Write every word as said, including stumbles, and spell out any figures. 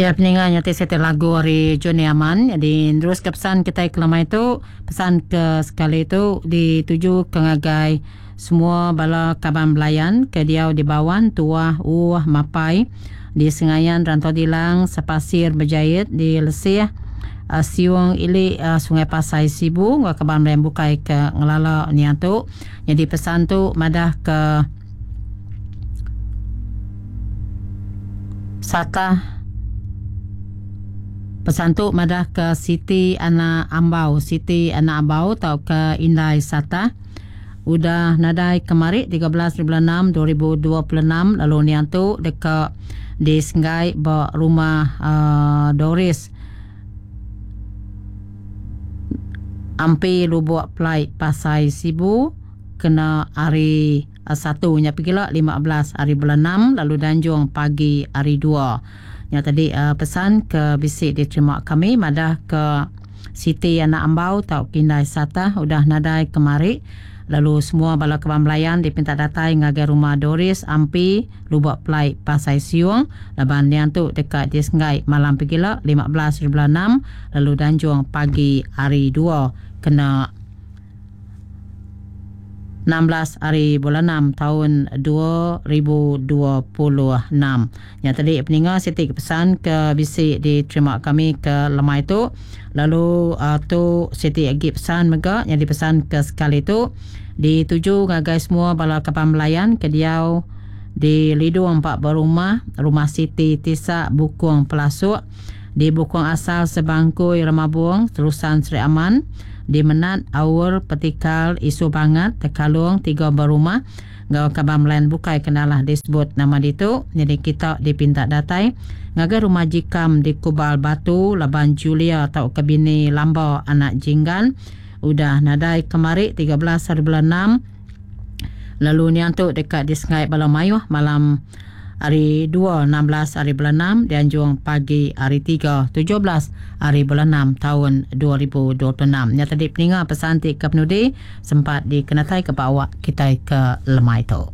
Ya peninga nyati siti lagu ari Johnny Aman. Jadi terus ke pesan kita ke lemai tu, pesan ke sekali tu dituju ke ngagai semua bala kaban belayan ke diau di Bawan, Tuah, Uah, Mapai, di Sengayan, Rantau Dilang, Sepasir, Berjait, di Lesih, uh, Siung Ili, uh, Sungai Pasai, Sibu, ngau kaban belayan bukai ke ngelala nian tu. Jadi pesan tu madah ke Satah. Pesan tu madah ke Siti Anak Ambau, Siti Anak Ambau atau ke Indai Satah. Udah nadai kemari tiga belas bulan enam dua ribu dua puluh enam lalu nian tu deka di Senggai ba rumah uh, Doris Ampi Lubuk Pelai Pasai Sibu kena hari uh, satu nya pegila lima belas hari bulan enam lalu danjung pagi hari dua. Nya tadi uh, pesan ke bisi diterima kami madah ke Siti Anak Ambau tau Kindai Satah udah nadai kemari lalu semua bala kaban belayan dipinta datai ngagai rumah Doris Ampi Lubuk Pelai Pasai Siung laban nian tu dekat di Senggai malam pegila lima belas bulan enam lalu danjung pagi hari dua kena enam belas hari bulan enam tahun dua ribu dua puluh enam. Yang tadi peninga siti pesan ke bisi diterima kami ke lemai tu. Lalu uh, tu siti lagi pesan mega yang dipesan ke sekali tu dituju ngagai semua bala kaban belayan ke diau di Lidung Empat Berumah, Rumah Siti Tisak Bukung Pelasuk, di Bukung Asal Sebangkui Remabung, Terusan Seri Aman, di Menat, Aur, Petikal, Isu Bangat, Tekalung, Tiga Berumah, ngau kaban belayan bukai kenalah disebut nama ditu. Jadi kita dipinta datai ngagai rumah Jikam di Kubal Batu, Laban Julia atau Kebini Lamba Anak Jinggan. Udah nadai kemari tiga belas hari bulan enam. Lalu nian tu dekat di Sengai Bala Mayuh malam hari dua enam belas hari bulan enam dianjung pagi hari tiga tujuh belas hari bulan enam tahun dua ribu dua puluh enam. Nya tadi peninga pesan ti ke penudi sempat dikenatai ke bawah kita ke lemai tu.